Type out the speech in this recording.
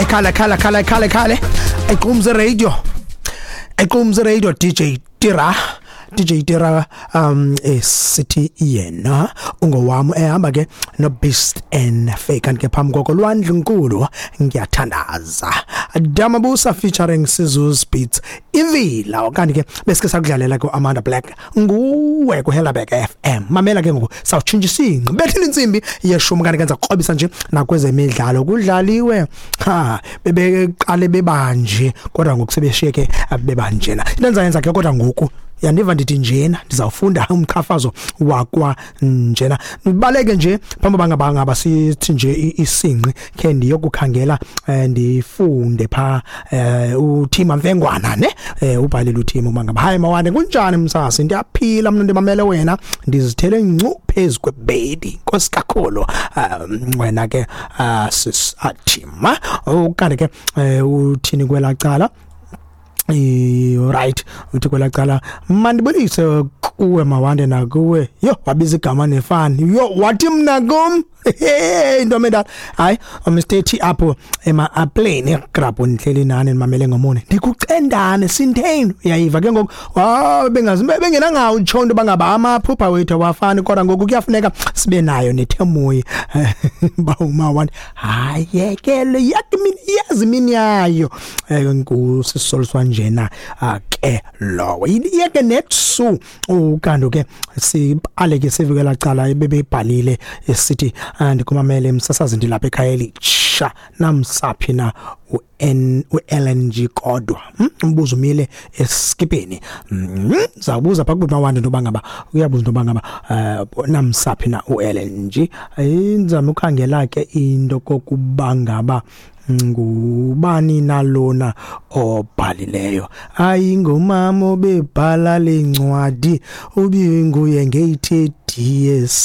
Ayikhale khale khale khale khale. Equmze Radio. Equmze Radio DJ Tira. DJ Tira esithi yena ungowami ehamba ke no Beast and Fake kanti ke phambi koko lwandle nkulu ngiyathandaza Damabusa featuring Sizu's Beats ivila kanti ke besike sakudlalela ku Amanda Black nguwe ku Hellerberg FM mamela ke ngoku sawutshintsha isingqi bethile intsimbi yeshumi kanti kenza kukrobisa nje nakwezemidlalo kudlaliwe ha bebeqale bebanje kodwa ngoku sebeshiyeke bebanjena into endizayenza ke kodwa ngoku yandiva ndithi njena ndizawufunda umqhafazo wakwa njena ndibaleke nje phambi uba ngaba sithi nje isingqi khe ndiyokukhangela ndifunde pha uThima Mfengwana ne ubhalile uThima uba ngaba hayi mawande kunjani msasi ndiyaphila mna ndimamele wena ndizithele ncu phezu kwebedi nkosi kakhulu wena ke sis Thima ukanti ke uthini kwelaa cala. Right uthi kwelaa cala mandibulise kuwe mawande nakuwe yho wabiza igama nefani yho wathi mna kum into endala hayi Mr T apho ema-apleni grabho ndihleli nani ndimamele ngomone ndikucendane sintheni uyayiva ke ngoku bengenangawo utsho into yoba ngaba amaphupha wethu awafani kodwa ngoku kuyafuneka sibe nayo nethemoyi uba umawande hayi yekele yazi imini yayo ngusisoliswa njena ke lowo yeke netsu ukanti ke sibale ke sivikela cala ebebebhalile esithi ndikumamele msasazi ndilapha ekhaya elitsha namsaphi na u-LNG kodwa umbuzo umile eskipeni zawubuza pha kuba mawande into yoba ngaba uyabuza into yoba ngaba namsaphi na u-LNG inzama ukhangela ke into kokuba ngaba ngubani nalona obhalileyo ayingomama obebhala lencwadi ubinguye ngeyi-30 years.